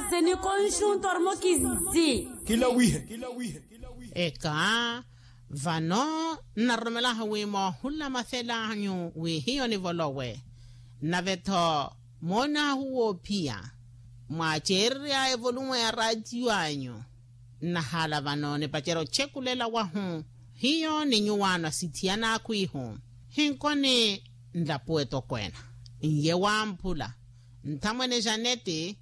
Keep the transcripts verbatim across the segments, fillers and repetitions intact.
Seni konxunto armokizi. Kilawihe. Eka, vano nnaroromelaho wi moohulamathela anyu wi hiyo nivolowe. Nave-tho moonahu woophiya, mwaaceererya evolumu ya raatiyo anyu. Nnahaala vano nipacerya oceekulela wahu, hiyo ni nyuwaano asithiyana akhwiihu. Hinkoni nlapuwe tokweena, n'iye wamphula. Nthamwene janeti,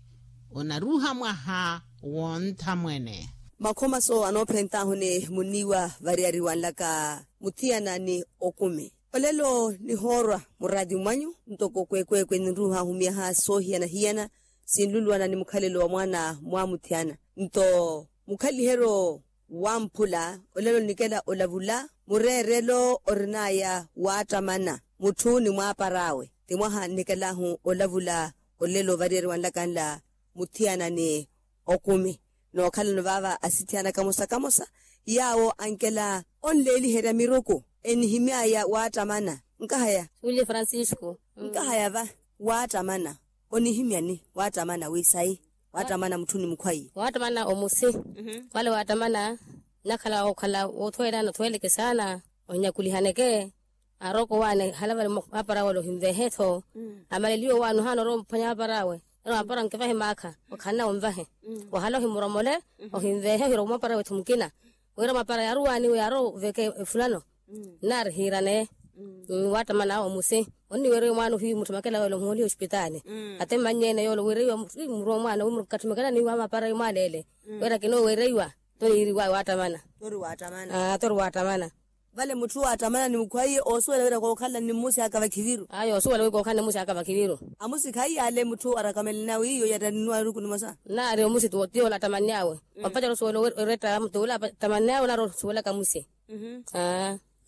onaruuha mwaha w'onthamwene. Makhoma soowo anoophent'ahu ni munniiwa variyari wanlaka muthiyana ni okumi. Olelo nihoorwa muraati mwanyu ntoko kweekweekwe ninruuha ahumiyaha soohiyana-hiyana, sinluluwana ni mukhalelo wa mwaana mwa muthiyana. Nto mukhaliheryo wamphula olelo nnikela olavula mureerelo orin'aya waattamana mutthu ni mwaapar'awe. Ti mwaha nnikelahu olavula olelo variyari wanlaka nla muthiyana ni okumi. Nookhalano vaava asithiyana kamosa-kamosa yaawo ankela onleeliherya miruku enihimy'aya waattamana. Nkahaya. Suwile francisco. Nkahaya va waattamana onihimyani waattamana wi sayi waattamana mutthu ni mukhwayi waattamana omusi. Wale waattamana nnakhala okhala wothweelana othweeleke saana. Onyakulihaneke aroko waani halavale mapara wale ohinvehe-tho. Amaleliwe waani ohaana orowa ophwanya mapara awe ero mapara nkivahe maakha okhanna onvahe. Wahala ohimuromole ohinvehe ohiroko mapara wetthu mukina wira mapara yaaruwaaniwe yaaroveke efulano. Nnaari hiiraneye waattamana awe omusi onniwereiwa mwaana ohiyu mutthu makela wele omuholiha osipitaali. Ate mmannye-ene yoole wereiwa muruwa mwaana wi murukatthi makela niiwa mapara yu mwaaleele wira kinoowereiwa. Toriiriwawe waattamana. Tori waattamana. Vale mutthu waattamana ni mukhwaiye oosuwela wira kookhala ni mmusi aka vakhiviru. Ayo oosuwela wira kookhala ni mmusi aka vakhiviru. Amusi khaiyale mutthu arakamele nawe iyo yattaninwa eruku nimosa. Nnaari omusi tiyo olattamanny'awe. Wapacerya osuwela oretta mutthu ula attamanny'awe nnaari osuwelaka musi.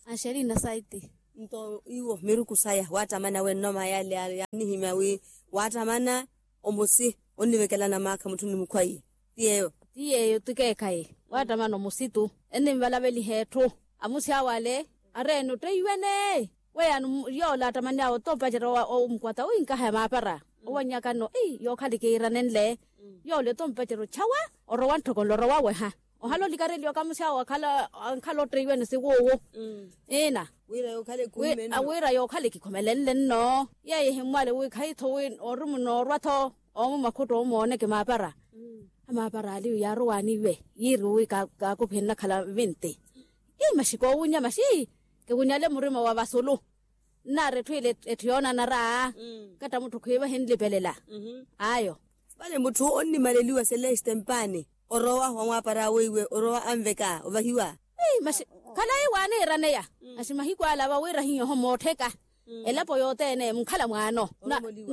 Axerina saiti. Nto iwo miruku saya waattamana wennoma yale yaanihimya wi waattamana omusi onnivekelana maakha mutthu ni mukhwaiye. Ti yeeyo. Ti yeeyo ti keekhayi waattamana omusi tu enninvalaveliha etthu. Amusi awo ale areene otteiwene. Weyaani yoola attamanny'awe oto mpacerya omukwata wi nkahaya maapara owannyaka nno ii yookhala ekiiranenle. Yoola oto mpacerya ochawa orowa ntthoko nlo orowa weha. Ohala olikareliwa kamusi awo akhala otteiwene siwuuwu. Ina wira yookhala ekikhomelenle nno. Yeeyo ehimmwale wi khayi-tho wi ori munoorwa-tho omu makhutto omooneke maapara. Amaapara aliyu yaarowaaniwe yiiriwe wi kaakuphe nnakhala vinti. Ii maxi koowunnya maxi kiwunnyale murima wa vasulu. Nnaari etthu ile etthu yoonanara. Katta mutthu khwiiva hinlipelela. Ayo. Vale mutthu onnimaleliwa seleste mpaani orowa wamwaapara awe iwe orowa anveka ovahiwa. Khalayi waaniiraneya. Masi mahiku ala va wira hiyo oho moottheka elapo yothene munkhala mwaano.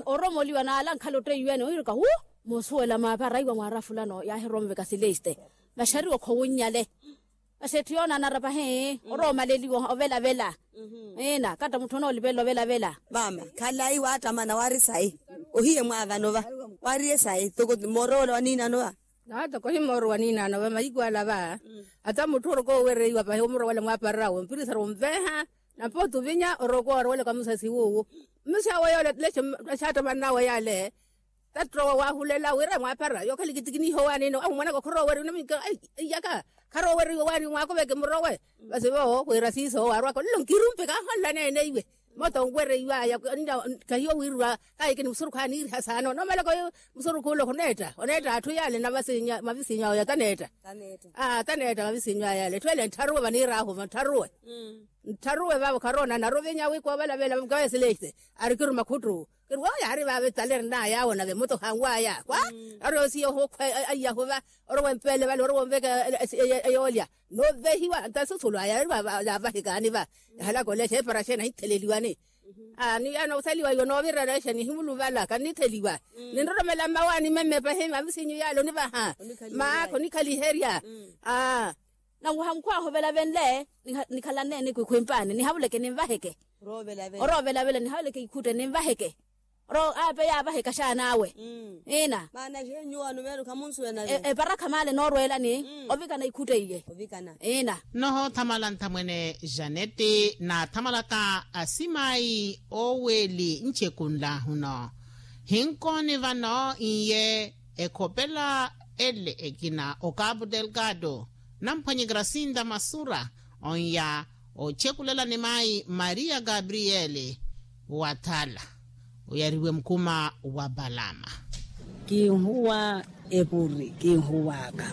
Oromoliwa naala ankhala otteiwene ohiruka wu. Moosuwela maapara iwa mwaara fulano yaahironveka seleste. Maxariwo khowunnyale. Masi etthu yoonanara pahi oroomaleliwa ovelavela. Ina katta mutthu onoolipelela ovelavela. Maama khalayi waattamana waari sayi. Ohiye mwaavano va waariye sayi toko moorowela waniinano va. Naatoko ohimoorowa niinaano va mahiku ala va. Ata mutthu oroko owereiwa pahi omurowela mwaapararawe ompirisari omveeha. Nampa otuvinya oroko orowelaka musasi wuuwu. Mmusi awe yoole lexe xaattamannawe yaale tattowa waahulela wira mwaapara yookhala ekitikiniho waaniino ahu mwanaka khoroweriwa naminka. Iyaka kharoweriwa waani mwaakuveke murowe. Vasi vo wira siiso waarwaka olelo nkirumpe kaaholela neene iwe. Moto onwereiwaya kahiyo wiirwa. Kaahikini musurukhu aniiriha saana onomalaka oyo musurukhu ole oneetta oneetta atthu yaale na mavisiinyu awe taneetta. Taneetta mavisiinyu aya yaale etthu ele nttharuwe vaniiraahu va nttharuwe. Nttharuwe vaavo kharoona naruvinya wi koovelavela mukawesile ise. Ari kiru makhuttu kiru woowo yaari vaavo etale erinaya awo nave muto hanwaya kwa. Ari osiya ohukhwa aiyahu va orowa empeele vale orowa onveka eyoolya. Novehiwa nta susulu aya ari vaavo yaavahikaani va. Yahalaka olexa epara xeeni ahitheleliwani. Ni yaana osaliwa iwe noovirela exa nihimuluvala kannitheliwa. Ninroromela mmawaani memme pahi mavisiinyu yaale onivaha. Maakha onikhaliherya. Nanwaha mukhwaahu ovelavenle nikhalanne ni kwikhwimpaani nihavuleke ninvaheke. Oroovelavela nihavuleke ikhutte ninvaheke. Oro aape yaavaheka xaan'awe. Ina maana xenyuwano meeru khamunsuwena. Eparakha maale noorweelani ovikana ikhutte iye. Ina. Nnohoothamala nthamwene janeti naathamalaka asimayi ooweeli ncekunlaahuno. Hinkooni vano iye ekhopela ele ekina o cabo delgado, namphwanyekera sinta masura onya ochekulelani mayi maria gabriele, wathala oyariwe mukuma wa palama. Kinhuwa epuri kinhuwaka,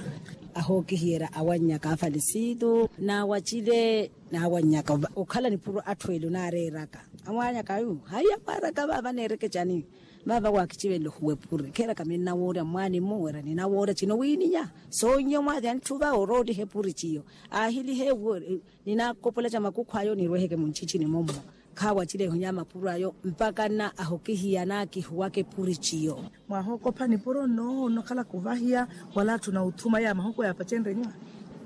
ahookihiyerya awannyaka afalisitu n'awacile, n'awannyaka okhala nipuro atthu ele onaareeraka. Amwaanyaka ayu haiya mwaaraka vaava neereke cani? Vaava waakichivenle ohuwa epuri kheeraka minnawoorya mwaani-mu wira ninawoorya cino wiininya. Soonyiya omwaathiya ntthu va orooliha epuri ciyo, aahilihe ewo. Ninaakopola ca makukhu ayo nirweheke munchichini mommo. Khaawacile ehonya mapuro ayo mpakha nna ahokihiya naakihuwaka epuri ciyo. Mwahookopha nipuro nno onnokhalaka ovahiya wala atthu na othuma ya mahoko yaapacenrye nyuwa?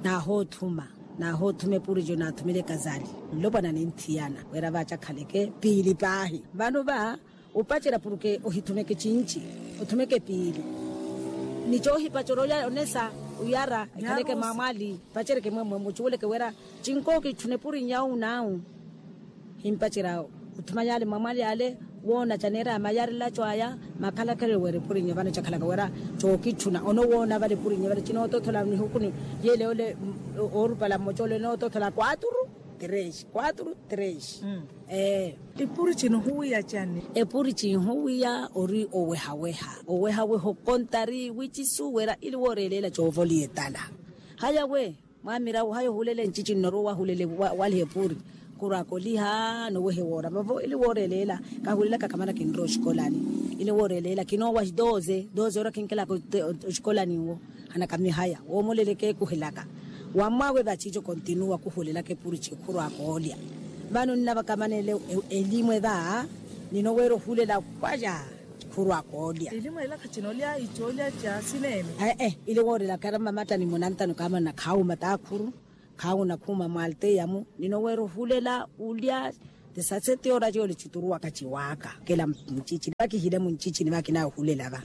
Naahoothuma. Naahoothuma epuri ciyo naathumile ekazali. Nlopwana ninthiyana wira vaacakhaleke piili paahi vano va opacerya puruke ohithumeke cinci, othumeke piili ni coohipacerya olya onesa oyara ekhaleke mwaamwali. Paceryeke mwemwe mucuweleke wira cinko kitthuna epuri nyawu nawu. Himpacerya othuma yaale mwaamwali yaale, woona caneera ya mayarelaco aya makhalakhalelo wira epuri nyo vano cakhalaka wira cookitthuna onowoona vale epuri nyo vale cinootoothola nihuku ni yeele ole. Oorupala mmoca ole enootoothola kwaturu, tres kwaturu tres. Ee. Epuri cino ohuwiya cani? Epuri cinhuwiya ori owehaweha owehaweha okontari wici suwera ili wooreeleela coovoliya etala. Haya we mwamira haya ohulela encici nnoruwa wahulele waliha epuri. Khurwaka oliha nowehe woora vavo ili wooreeleela. Kahulelaka khamana kinrowa oxikolani ili wooreeleela kinoowa doze doze ora khinkelaka oxikolani nwo. Hanakami haya woomoleleke kuhelaka. Wammwaawe vaciico kontinuwa kuhulelaka epurici khurwaka olya. Vano nnavakamanele elimwe va ninoweera ohulela waya. Khurwaka olya. Elimwe ela khacinoolya icoolya ca sineene. Ee ili woorelaka era mmamattani munantano kaamana khaawuma taakhuru. Khaawuna khuuma mwalteyamu ninoweera ohulela ulya. Tisaseti ora ciyo licituruwaka ciwaaka kela mucicini vakihile muncicini vakinaahulela va.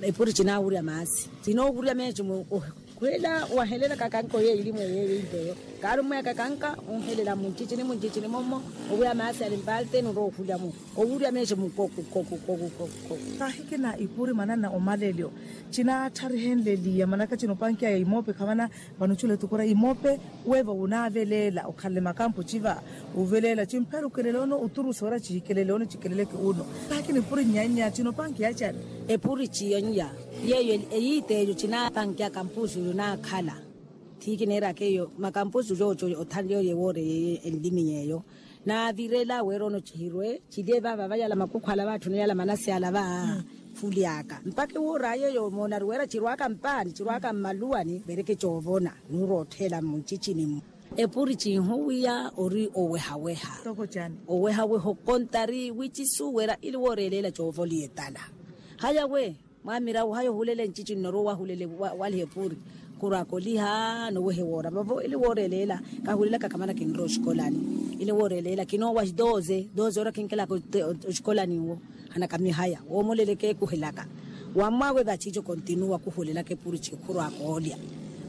Epuri cinaawurya maasi cinoowurya meeco mu okhwela wahelelaka kanka oyo elimu eyo eyo. Kaari omweeka kanka onhelela muncicini muncicini mommo. Owiya maasi ali mpalteni orowa ohulya mu owurya meeco mu koku koku koku koku. Kahikina ipuri manana omalelyo. Cinaattarihenleliya manaka cinopankiya ya imoope khamana. Vano cula etukura imoope weeva wunaaveleela okhalele makampo civa. Oveleela cimpherukelele ono oturusa wira cihikelele ono cikeleleke uno. Taakina epuri nnyannya cinopankiya cani? Epuri ciyo nnya yeeyo eyiita eyo cinaapankiya kampusu yo naakhala. Thiikineeraka eyo makampusu cooco othanle oyo ewoore yeeyo enlimi yeeyo. Naavirela wira ono cihirwe cilye vaava vayala makukhu ala vaatthuna yala manasi ala va. Fulyaka mpakha ewoora yeeyo moonari wira cirwaka mpaani cirwaka mmaluwani vereke coovona. Nuura ottheela mmuncicini-mu. Epuri cinhuwiya ori owehaweha. Owehaweha okontari wici suwera ili wooreeleela coovoliya etala. Haya we mwamira haya ohulela encici nnoruwa wahulele waliha epuri. Khurwaka oliha nowehe woora vavo ili wooreeleela. Kahulelaka khamana kinrowa oxikolani ili wooreeleela kinoowa doze doze ora khinkelaka oxikolani nwo. Hanakami haya woomoleleke kuhelaka. Wammwaawe vaciico kontinuwa kuhulelaka epurici khurwaka olya.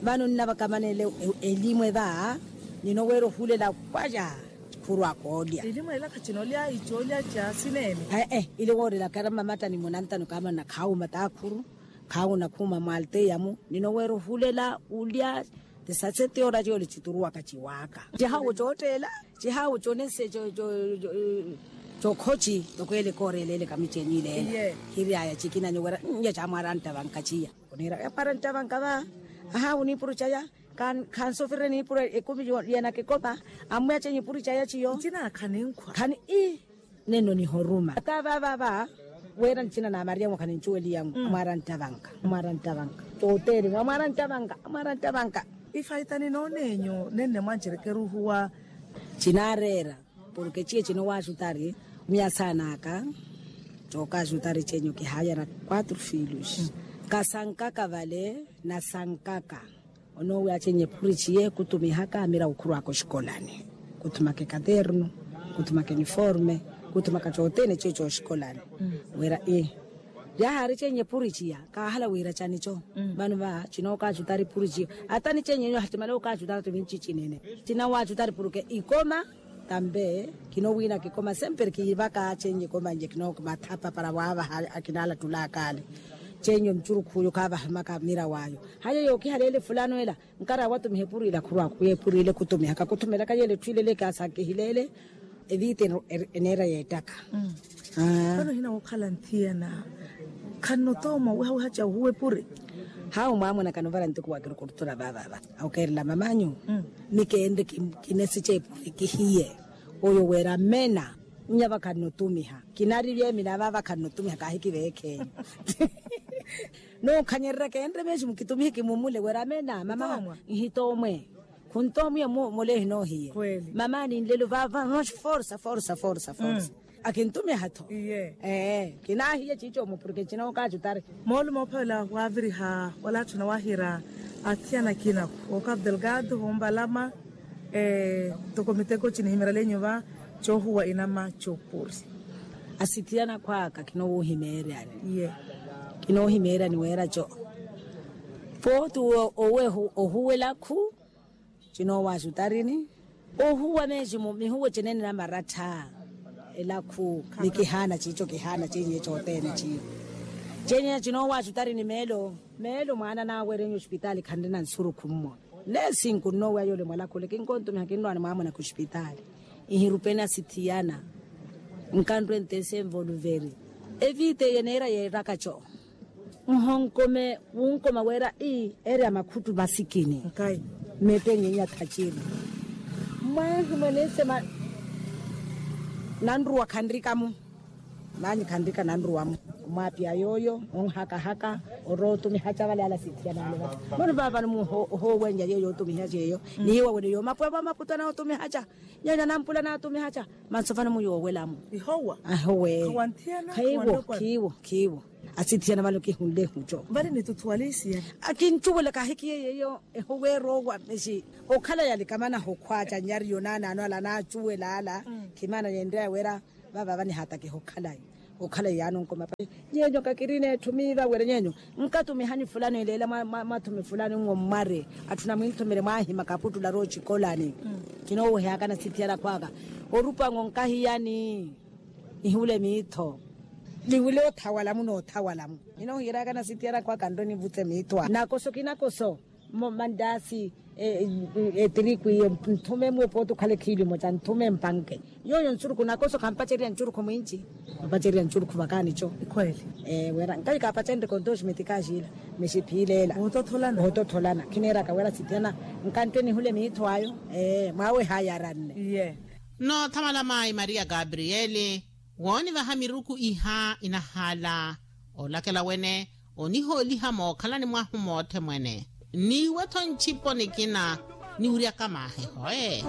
Vano nnavakamanele elimwe va ninoweera ohulela waya. Khurwaka olya. Elimu ela khacinoolya icoolya ca sineene. Ee ili woorelaka era mmamattani munantano kaamana khaawuma taakhuru. Khaawuna khuuma mwalteyamu ninoweera ohulela ulya. Tisaseti ora ciyo licituruwaka ciwaaka cihaawu cootteela. Cihaawu conese cokhoci. Tokweleka ooreeleeleka micenyi ileela. Hiryaya cikinanyo wira nnya camwaara nttavanka ciya. Oniira yamwaara nttavanka va. Ahaawu niipuru caya. Khansofirire niipuro ekumi yanakekoma. Ammwiya chenye epuri caya ciyo. Ncinaakha ninkhwa khani ii. Nenno nihoruma ata vaavava. Weera ncina na mariamu khanincuweliyamu amwaara nttavanka. Amwaara nttavanka. Tooteeri amwaara nttavanka amwaara nttavanka. Ifaitani noonenyu nenne mwancerekeruhuwa. Cinaareera porke ciye cino waajutari. Miya saan'aka cookajutari cenyu kihaayana quatro filhos. Kasankaka vale nasankaka. Onoowiya chenye epuri ciye kutumihaka amira okhurwaka oxikolani. Kutumaka ekaternu kutumaka iniforme kutumaka cothene ciyo cooxikolani. Wira ii yaahaari chenye epuri ciya kaahala wira canico. Vano va cinookajutari epuri ciyo ata nichenye enyo hacimale okajutari tumi ncicinene. Cinawaajutari porke ikoma tambe kinowiina kikoma sempre kiivaka chenye ikoma nje kinookumathapa para waavaha akinalattulaka ale. Chenyo ncurukhu uyo khavahimaka mira wayo. Hayo yookihaleele fulano ela nkara watumiha epurila khurwaku ya epurila ekhutumihaka khutumelaka yele etthu ilele kasakihileele. Eviita eneera yeettaka. Vano hina wookhala nthiyana khannotooma owehaweha ca ohuwa epuri. Hawu mwaamuna kanovala ntuku wa kirukurutula vaavava awukeerela mamanyu. Mikeenre kinesica epuri kihiye oyo wira mena. Nnya vakhannotumiha kinari vyeemina vaavakhannotumiha kaahikiveekhenyu. Nookhanyereryaka enre meeximu kitumihe kimumule wira mena mama. Nhitoomwe khuntoomwiya mule ehinoohiye. Mamaani nlelo vaava forsa forsa forsa forsa. Akintumiha-tho. Ee kinaahiye ciico-mo porke cinookaacutari. Moolumo ophavela waaviriha wala atthu nawahira athiyana akina okavelgado hoombalama. Toko miteko cinihimerelenyu va coohuwa inama coopuri. Asithiyana akhwaka kinoohimeeryani. Kinoohimeeryani weera co pooti owe ohuwa elakhu. Cinoowaxutarini ohuwa meeximu mihuwe cinene namarattha. Elakhu ni kihaana ciico kihaana ciinyiye cothene ciiyo. Cenyeya cinoowaxutarini meelo meelo mwaana naawerenye ospitaali khanrina nsurukhu mmwe. Neesinku nnooweya yoole mwalakhule kinkontumiha kinrwaani mwaamuna khuspitaali. Nhirupeni asithiyana nkanrwe ntesi envoluveri. Eviita eyo eneera yeeraka co nhonkome wunkoma wira ii eri a makhuttu masikini. Mmeetteni nyenya thaciri mwahi mwaneesema nanruwa khanrika-mu. Nanyi khanrika nanruwa-mu. Mwaapiya yooyo onhakahaka orootumiha ca vale ala sithiyana ale vale. Moni vaavano muhoowenja yeeyo yootumiha ceeyo. Nihiwa wene yoomapuya va maputo anootumiha ca nyanya nampula naatumiha ca. Manso vano muyoowela-mu. Ihowa. Ahiwe. Khiwo khiwo. Asithiyana vale okihunle ehuco. Vale nitutuwale isiyana. Akincuwela kahikiye yeeyo ehowa eroowa mexi. Okhala yalikamana hokhwaca nyariyo naanaano ala naacuwela ala. Khimana yenreya wira vava vanihaatakiha okhalayi. Okhalayi yaani onkoma pa nyenyo kakirina etthu miiva wira nyenyo nkatumihanyu fulano eleela mwathumi fulano nwo mmwari. Atthu namwinthumele mwaahimaka aputtula rooci kolani. Kinoowehaakana sithiyana akhwaka orupa nwo nkahiyani. Nihiwule miitho. Niwule othawala-mu noothawala-mu. Ninoohiyeryakana sithiyana akhwaka nrwe nivutse miitho a nakoso kinakoso. Mandaasi etiriku iyo nthume mwe pooti okhale khiili omoca nthume mpanke. Yooyo nsurukhu nakoso khampacerya ncurukhu mwinci. Khampacerya ncurukhu vakaani co. Wira nkayi kaapacenrye kontoximeti kaaxiila. Mexiphiileela oototholana. Khiniraka wira sithiyana nkantte nihule miitho ayo. Mwaawe haayaranne. Nnoothamala maayi maria gabrieli woonivaha miruku iha inahaala. Olakela wene onihooliha mookhalani mwahu moothemwene. Niiwe-tho ncipo nikina niwuryaka maaheho ee.